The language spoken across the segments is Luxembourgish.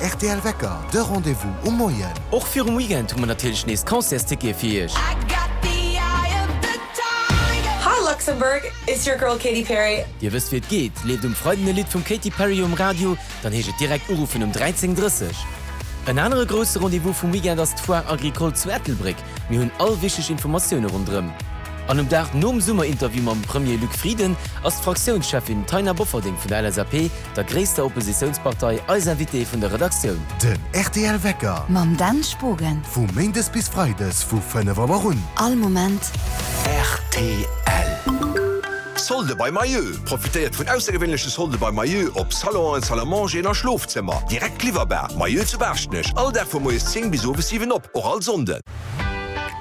rtl Wecker, de Rendez-vous um Moien. Och virum Weekend hu mer natierlech nees Concertstickete fir iech. Hi Luxembourg, it's your girl Katy Perry. Dir wësst wéi et geet, leeft um Freiden e Lidd vum Katy Perry um Radio, dann heescht et direkt uruffen um 13:30. En anere grousse Rendez-vous vum Weekend ass d'Foire Agricole zu Ettelbréck. Mir hunn all wichteg Informatioune ronderëm. An um Dag nom Summerinterview mam Premier Luc Frieden ass d'Fraktiounscheffin Taina Bofferding vun der LSAP, der gréisster Oppositiounspartei, eis Invitée vun der Redaktioun. Den rtl Wecker. Mam Dan Spogen. Vu Méindes bis Freides vu 5 Auer un. All Moment. Rtl. Solde bei Mayeux! Profitéiert vun aussergewéinleche Solde bei Mayeux op Salonen, Salle à mangeren a Schlofzëmmer. Direkt liwwerbar. Mayeux zu Baaschtnech, all Dag vu moies 10 bis owes 7 op, och all Sonnden.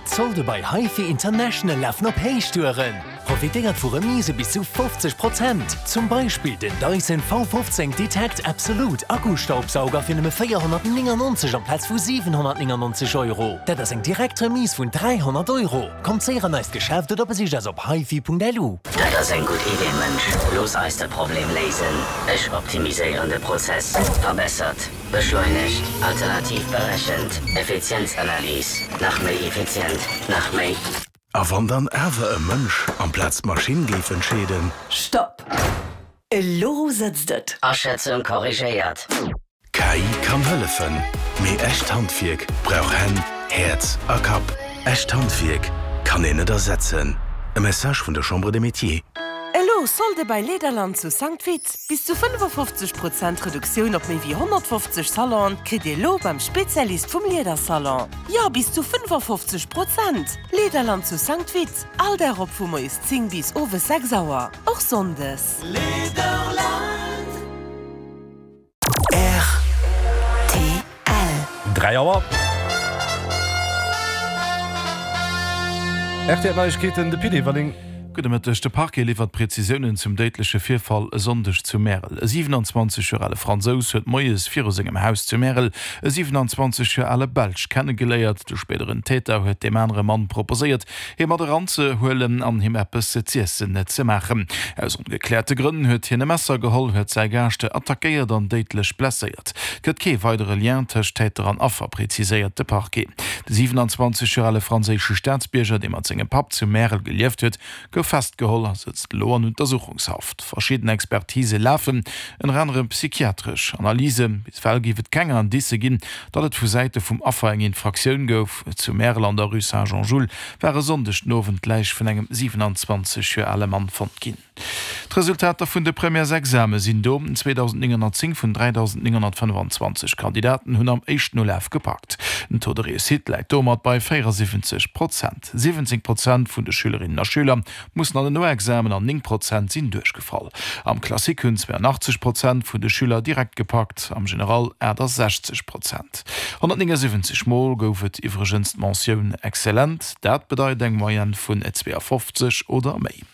D'Solde bei HiFi International lafen op Héichtouren! Profitéiert vu Remise bis zu 50 Prozent! Zum Beispill den Dyson V15 Detect Absolute Akkustaubsauger fir nëmme 499 amplaz vu 799 Euro. Dat ass eng direkt Remise vun 300 Euro! Kommt séier an eist Geschäft oder besicht eis op hifi.lu. Dat ass eng gutt Idee, Mënsch. Looss eis de Problem léisen. Ech optimiséieren de Prozess. Verbessert, beschleunegt, alternativ berechent, Effizienzanalys, nach méi effizient, nach méi. A wann dann awer e Mënsch amplaz d'Maschinn géif entscheeden? Stopp! Elo sëtzt et! Aschätzung korrigéiert. KI kann hëllefen, mee echt Handwierk brauch Hänn, Häerz a Kapp. Echt Handwierk kann een net ersetzen. E Message vun der Chambre des Métiers. Elo Solde bei Lederland zu Sankt Vith! Bis zu 55 Prozent Reduktioun op méi wéi 150 Salonen kritt Dir elo beim Spezialist vum Liedersalon. Jo, bis zu 55 Prozent! Lederland zu Sankt Vith, all Dag op vu moies 10 bis owes 6 Auer, och Sonndes. Lederland. Rtl. 3 Auer. RTL Neiegkeeten, de Pit Everling. Gudde Mëtteg. De Parquet liwwert Prezisiounen zum déidleche Virfall e Sonndeg zu Märel. E 27 Joer ale Fransous huet moies viru sengem Haus zu Märel e 27 Joer ale Belsch kennegeléiert. De spéideren Täter huet deem anere Mann proposéiert, hie mat eranzehuelen an him eppes z'iessen ze maachen. Aus ongekläerte Grënn huet hien e Messer geholl, huet säi Gaascht attackéiert an déidlech blesséiert. Et gëtt kee weidere Lien tëscht Täter an Affer, preziséiert de Parquet. De 27 Joer ale franséische Staatsbierger, dee mat sengem Papp zu Märel gelieft huet, gouf festgeholl a sëtzt elo an Untersuchungshaft. Verschidden Expertise lafen, ënner anerem psychiatresch Analysen. Bis ewell géif et keng Indicë ginn, datt et vu Säite vum Affer eng Infraktioun gouf. Zu Märel an der Rue Saint-Jean-Jules war e Sonndeg den Owend d'Läich vun engem 27 Joer ale Mann fonnt ginn. D'Resultater vun de Premièresexame sinn do, 2.910 vun 3.925 Kandidaten hunn am éischten Ulaf gepackt. Den Taux de réussite läit domat bei 74 Prozent. 17 Prozent vun de Schülerinnen a Schüler mussen an den Noexamen an 9 Prozent sinn duerchgefall. Am Classique hunn 82 Prozent vun de Schüler direkt gepackt, am General 68 Prozent. 179 Mol gouf et iwwregens d'Mentioun excellent, dat bedeit eng Moyenne vun 52 oder méi.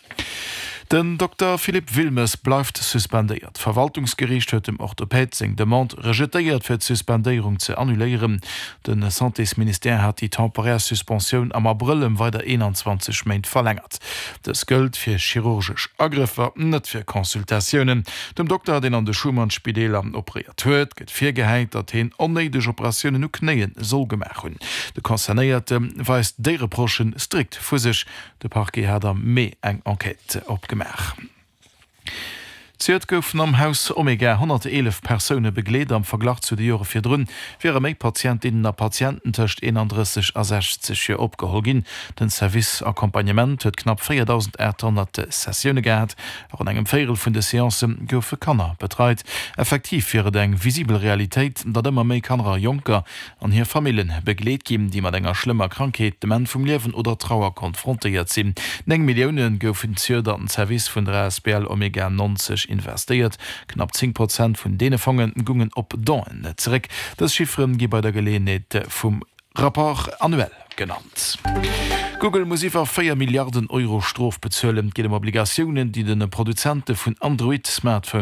Den Dokter Philippe Wilmes bleift suspendéiert. D'Verwaltungsgeriicht huet dem Orthopäd seng Demande rejetéiert, fir d'Suspendéierung ze annuléieren. De Santésministère hat déi temporär Suspensioun am Abrëll ëm weider 21 Méint verlängert. Dës gëllt fir chirurgesch Agrëffer, net fir Consultatiounen. Dem Dokter, deen an de Schuman-Spideeler operéiert huet, gëtt virgehäit, datt heen onnéideg Operatiounen u Knéie soll gemaach hunn. De Concernéierte weist déi Reprochen strikt vu sech. De Parquet hat am Mee eng Enquête opgemaach. Zejoert goufen am Haus Omega 111 Persoune begleet. Am Verglach zu de Jore virdrun wiere méi Patientinnen a Patienten tëscht 31 a 60 Joer opgeholl ginn. Den Service Accompagnement huet knapp 4.800 Sessioune gehat. Ronn engem Véierel vun de Seancë goufe Kanner betreit. Effektiv wier et eng visibel Realitéit, datt ëmmer méi Kanner a Jonker an hir Famillen begleet ginn, déi mat enger schlëmmer Krankheet, dem Enn vum Liewen oder Trauer konfrontéiert sinn. 9 Millioune goufen zejoert an den Service vun der asbl Omega 90 investéiert. Knapp 10 Prozent vun deene Fonge gungen op Donen zeréck. Dës Chiffere gi bei der Geleeënheet vum Rapport annuel genannt. Google muss iwwer 4 Milliarden Euro Strof bezuelen. Et geet ëm Obligatiounen, déi de Produzente vun Android-Smartphones.